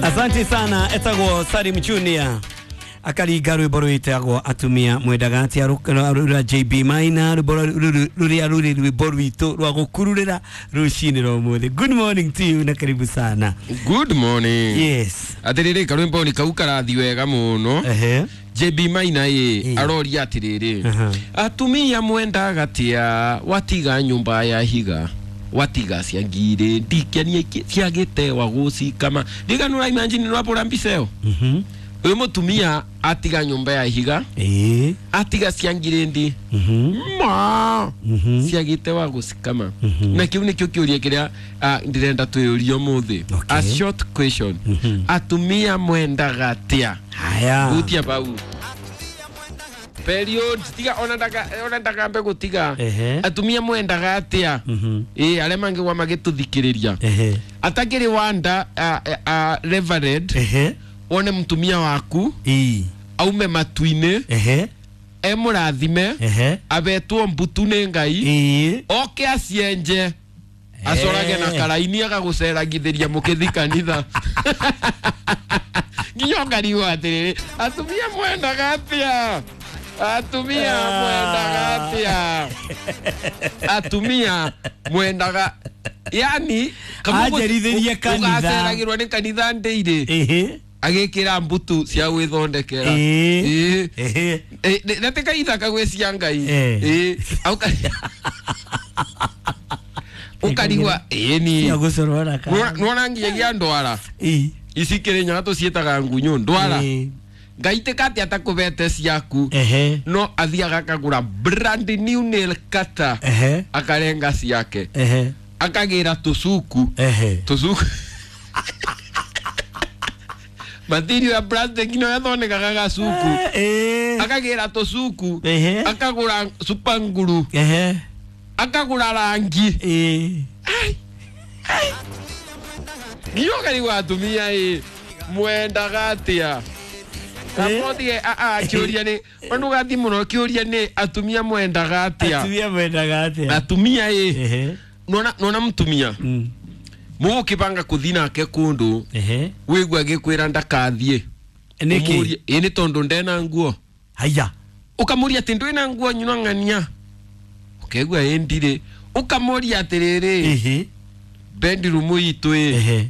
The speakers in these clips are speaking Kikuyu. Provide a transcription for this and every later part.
Asante sana etagwo Salim Junior akaringa rwimbo rwitagwo atumia mwendaga atia rura JB Maina rwimbo ruria ruri rwimbo rwitũ rwa gukururira rucini rwa umuthi. Good morning to you na karibu sana. Good morning. Yes. Atiriri karwimbo ni kau karathi wega muno. Ehe. JB Maina ĩ aroria atiriri atumia mwendaga atia watiga nyumba ya higa watiga cia ngiri ndikenia ciagĩtewa gũcikama ndiganũra imagine nĩwabũra mbica ĩyo. Uyu mutumia atiga nyumba ya higa atiga cia ngiri ndi ma ciagĩtewa gũcikama na kiu nikio kiuria kiria ndirenda twĩyũrie ũmũthĩ. A short question. Atumia mwendaga atia? Haya. Gutia pau period tiga ona ndaka ona ndakambe gutiga. Atumia mwendaga atia? Aria mangigwa magituthikiriria atakiri wanda reverend wone mutumia waku aume matu-inĩ emũrathime abetwo mbutu nĩ Ngai oke acienje acorage na karaini agagũceragithĩria mũkĩthi kanitha nginya ũkarigwo atĩrĩrĩ atumia mwendaga atia? Atumia mwendaga atia? Atumia mwendaga yani ajerithĩrie kanitha ũgaceragĩrwo nĩ kanitha ndĩirĩ agikira mbutu cia gwithondekera na ti kaithaka gwĩ cia Ngai ukarigwa ĩni nĩwona nginyagia ndwara ici Kĩrĩnyaga tũciĩtaga ngunyũ ndwara Ngai tika atia atakũbete ciaku no athiaga akagũra brand new nail cutter akarenga ciake akagĩra tũcuku tũcuku material ya plastic no yathondekaga gacuku akagĩra tũcuku akagũra super nguru akagũra rangi nginya ũkarigwo atumia ĩ mwendaga atia? Kamothie kĩũria nĩ ndũgathiĩ mũno kĩũria nĩ atumia mwendaga atia? Atumia mwendaga atia? Atumia ĩ nona mũtumia mũgũkĩbanga kũthi nake kũndũ wĩigua agĩkwĩra ndakathiĩ nĩkĩ? Ĩ nĩ tondũ ndena nguo. Haya. Ũkamũria atĩ ndwĩna nguo nyuna ng'ania ũkaigua ĩ ndirĩ ũkamũria atĩrĩrĩ bedroom itũ ĩ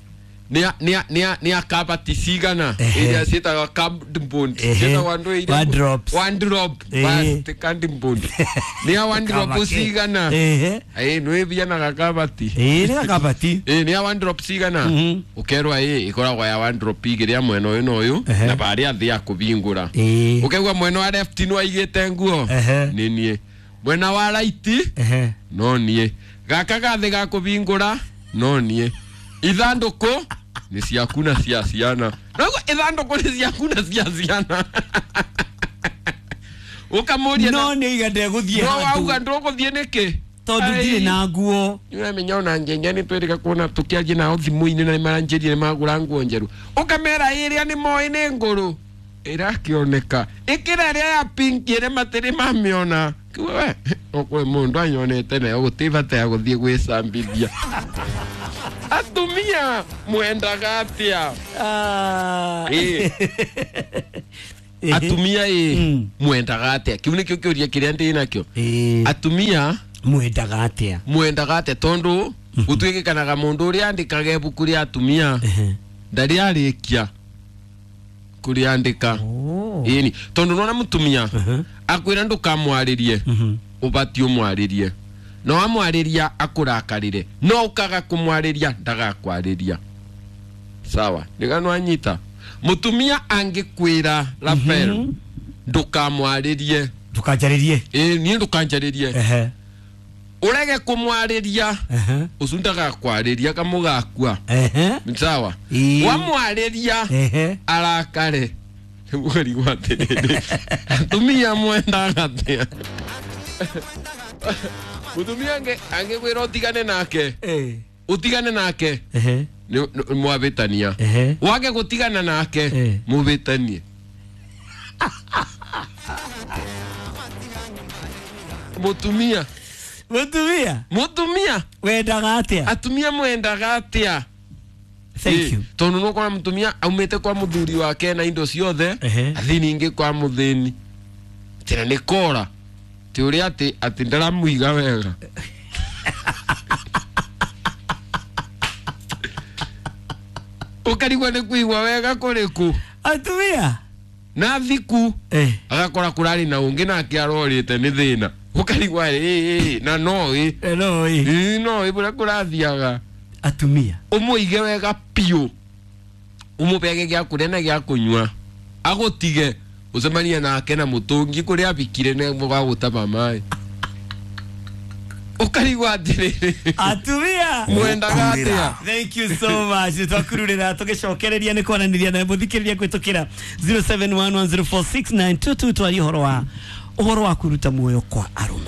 nĩ a kabati cigana iria ciĩtagwo cardboard ciĩtagwo andũ iria one drop bas ti cardboard nĩ a one drop cigana ĩ nĩwĩthianaga kabati ĩ nĩ kabati ĩ nĩ a one drop cigana ũkerwo ĩ ĩkoragwo ya one drop igĩrĩ ya mwena ũyũ na ũyũ na barĩa thĩ ya kũbingũra ũkaigua mwena wa left nĩ waigĩte nguo nĩ niĩ mwena wa right no niĩ gaka gathĩ ga kũbingũra no niĩ ithandũkũ nĩ ciaku na cia ciana naguo ithandũkũ nĩ ciaku na cia ciana ũkamũria no nĩ iga ndegũthiĩ no wauga ndũgũthiĩ nĩkĩ tondũ ndirĩ na nguo nĩũramenya ona ngenge nĩ twĩrĩga kuona tũkĩaria nao thimũ-inĩ na nĩmaranjĩrire nĩmagũra nguo njerũ ũkamera ĩrĩa nĩ moĩ nĩ ngũrũ ĩrakĩoneka ĩkĩra ĩrĩa ya pink ĩrĩa matĩrĩ mamĩona we ũkwĩ mũndũ anyonete nayo gũtirĩ bata ya gũthiĩ gwĩcambithia. Atumia mwendaga atia? Atumia ĩ mwendaga atia? Kiu nĩkĩo kĩũria kĩrĩa ndĩ nakĩo. Atumia mwendaga atia? Mwendaga atia tondũ gũtuĩkĩkanaga mũndũ ũrĩa andĩkaga ibuku rĩa atumia ndarĩ arĩkia kũrĩandĩka. Ĩni tondũ nona mũtumia akwĩra ndũkamwarĩrie ũbatiĩ ũmwarĩrie no amwarĩria akũrakarĩre no ũkaga kũmwarĩria ndagakwarĩria. Sawa ndigano anyita mũtumia angĩkwĩra Rafael ndũkamwarĩrie ndũkanjarĩrie ĩ niĩ ndũkanjarĩrie ũrege kũmwarĩria ũcu ndagakwarĩria kamũgakua. Sawa wamwarĩria arakare ũkarigwo atĩrĩrĩ atumia mwendaga atĩa? Mũtumia angĩkwĩra ũtigane nake ũtigane nake mwabĩtania wage gũtigana nake mũbĩtanie. Mũtumia mũtumia wendaga atia? Atumia mwendaga atia? Thank you. Tondu nukora mutumia aumite kwa muthuri wake na indo ciothe, athi ningi kwa muthini tena nĩ kora ti ũrĩa atĩ atĩ ndaramuiga wega. Ũkarigwo nĩ kuigua wega kũrĩkũ. Atumia. Na thiku agakora kũrarĩ na ũngĩ nake arorĩte nĩ thĩna, ũkarigwa ĩ na no ĩ. No ĩ. Ĩ, no ĩ bũrĩa kũrathiaga. Atumia. Ũmũige wega biũ, ũmũbege gĩa kũrĩa na gĩa kũnyua, agũtige ũcemanie nake na mũtũngi kũrĩa abikire nĩ wa gũtaba maĩ, ũkarigwo atĩrĩrĩ, Atumia. mwendaga atĩa? Thank you so much. Twakururira tugicokereria ni kwananiria na muthikiriria kwitukira 0711046922 twarie uhoro wa kuruta muoyo kwa arume.